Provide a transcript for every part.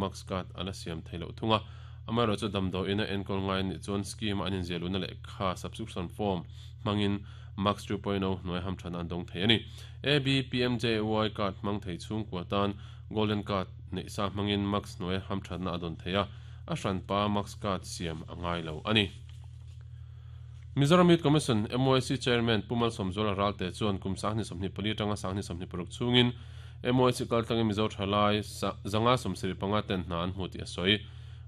Max card a la siam thei loh thung a. Amaherawhchu damdawiin a enkawl ngai anih chuan scheme a an inziah luhna lehkha, subscription form, hmangin Max 2.0 hnuai hamthatna an dawng thei a ni. ABPMJAY card hmang thei chhungkua tan Golden Card neih sa hmangin Max hnuai hamthatna a dawn thei a, a hranpa Max card siam a ngai lo a ni. Mizoram Youth Commission, MYC, Chairman Pu Malsawmzuala Ralte chuan kum 2024 atanga 2026 chhungin MYC kaltlangin Mizo thalai 175 ten hna an hmu tih a sawi.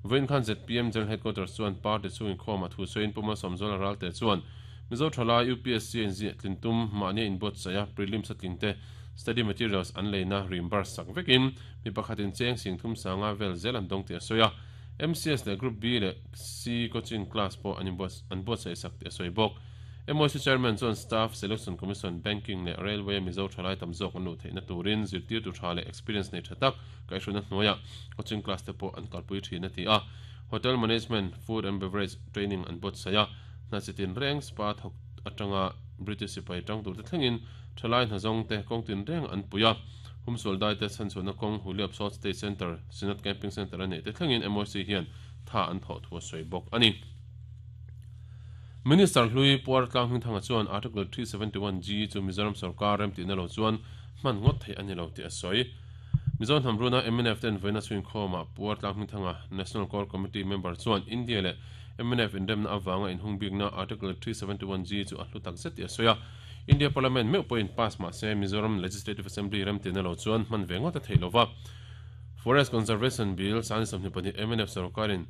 Vawiin khan zpm General Headquarters chuan party chhung inkhawmah thu sawiin Pu Malsawmzuala Ralte chuan Mizo thalai UPSC a inziah tlin tum mahnia inbuatsaih a prelims a tling te study materials an leina reimburse sak vekin mi pakhatin cheng sing thum sanga vel zel an dawng tih a sawi a. MCS leh Group B leh C coaching class pawh an an buatsaih sak tih a sawi bawk. MYC Chairman chuan Staff Selection Commission, Banking leh Railway a Mizo thalai tam zawk an luh theihna turin zirtirtu tha leh experience nei tha tak kaihhruaina hnuaiah coaching class te pawh an kalpui thin a ti a. Hotel Management, Food and Beverage training an buatsaih a, hna chi tin reng spa thawk atanga British sipai tang turte thlengin thalai hnazawng te kawng tin reng an pui a. Humsual daite chhanchhuahna kawng Huliap South State Centre, Synod Camping Centre a neih te thlengin MOC hian tha an thawh thu a sawi bawk a ni. Minister hlui Puar Tlanghmingthanga chuan Article 371G chu Mizoram sorkar remtihna lo chuan hman ngawt theih a ni lo tih a sawi. Mizo hnam runa mnf ten vawiina chhuinkhawmah Puar Tlanghmingthanga National Core Committee member chuan India leh mnf inremna avanga inhung bikna Article 371G chu a hlu tak zet tih a sawi a. India Parliament meuh pawhin pass mah se Mizoram Legislative Assembly remtihna lo chuan hman ve ngawt a theih lo va. Forest Conservation Bill 2022 mnf sorkarin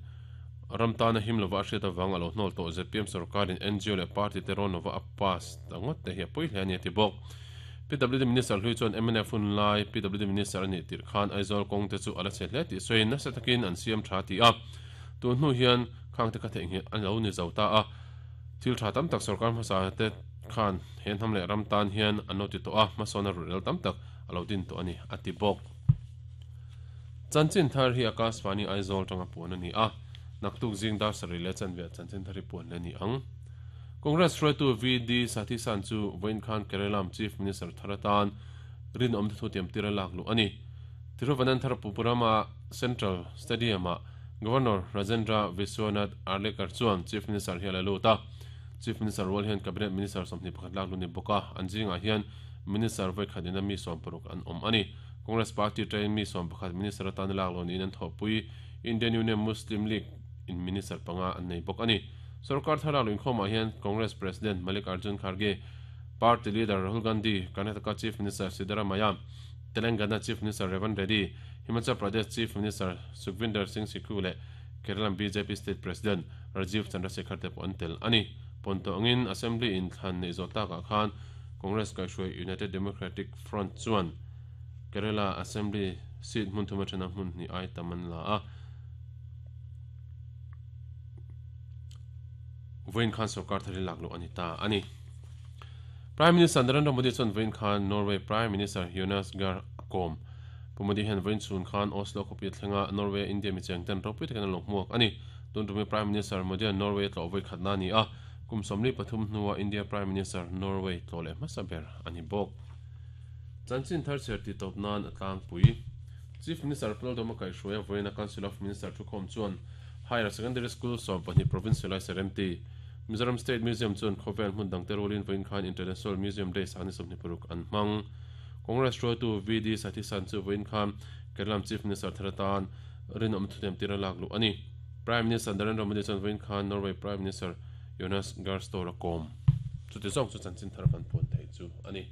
ram tana him lova a hriat avang a lo hnawl tawh zpm sorkarin ngo leh party te rawn lova a pass ta ngawt te hi a pawi hle a ni a ti bawk. PWD Minister hlui chuan mnf hun lai PWD Minister a nih tirh khan Aizawl kawng te chu a la chhe hle tih sawiin nasa takin an siam tha ti a, tun hnu hian khang te kha theihnghilh a lo ni zo ta a. Thil tha tam tak sorkar hmasa te khan he hnam leh ram tan hian an lo ti tawh a, hmasawn a ruhrel tam tak a lo din tawh a ni, a ti bawk. Chanchin thar hi Akashvani Aizawl tanga puan a ni a, naktuk zing dar sarih leh chanve chanchin thar hi puan leh a ni ang. Congress hruaitu VD Sathisan chu vawiin khan Kerala Chief Minister thar atan rinawm te thutiam tir a lak luh a ni. Thiruvananthapuram-a Central Stadium-ah Governor Rajendra Vishwanath Arlekar chuan Chief Minister hi a la lut a. Chief Minister rual hian Cabinet Minister 21 lak lut ni bawk a, an zingah hian Minister vawikhat ina mi 60 an awm a ni. Congress Party atangin mi 11 Minister atana lak loh niin an thawhpui. Indian Union Muslim League in Minister panga an nei bawk a ni. Sorkar thar lak luinkhawmah hian Congress President Mallikarjun Kharge, Party Leader Rahul Gandhi, Karnataka Chief Minister Siddaramaiah, Telangana Chief Minister Revanth Reddy, Himachal Pradesh Chief Minister Sukhvinder Singh Sikhu leh Kerala bjp State President Rajeev Chandrasekhar te pawh an tel a ni. Pawn tawh angin Assembly inthlan neih zawh takah khan Congress kaihhruai United Democratic Front chuan Kerala Assembly seat hmun thum atana hmun hnih ai tam an la a. Vawiin khan sorkar thar hi lak luh a ni ta a ni. Prime Minister Narendra Modi chuan vawiin khan Norway Prime Minister Jonas Gahr a kawm. Pu Modi hian vawiin chhun khan Oslo khawpui a thleng a, Norway a India mi cheng ten ropui takin an lo hmuak a ni. Tun tumi Prime Minister Modi-a Norway a tlawh vawi khatna a ni a, kum 43 hnua India Prime Minister Norway tlawh leh hmasa ber a ni bawk. Chanchin thar chhiar tih tawp nan a tlangpui. Chief Minister Pulalduhma kaihhruaia vawiina Council of Minister thukhawm chuan Higher Secondary School 12 Provincial-a Seremti, Mizoram State Museum chuan khawvel hmun dangte rualin vawiin khan International Museum Day sangni 26 an hmang. Congress hruaitu VD Sathisan chu vawiin khan Kerala Chief Minister thar atan rinawm thutiam tir a lak luh a ni. Prime Minister Narendra Modi chuan vawiin khan Norway Prime Minister Jonas Gahr Store a kawm. Chuti zawk chu chanchin thar kan puan thei chu a ni.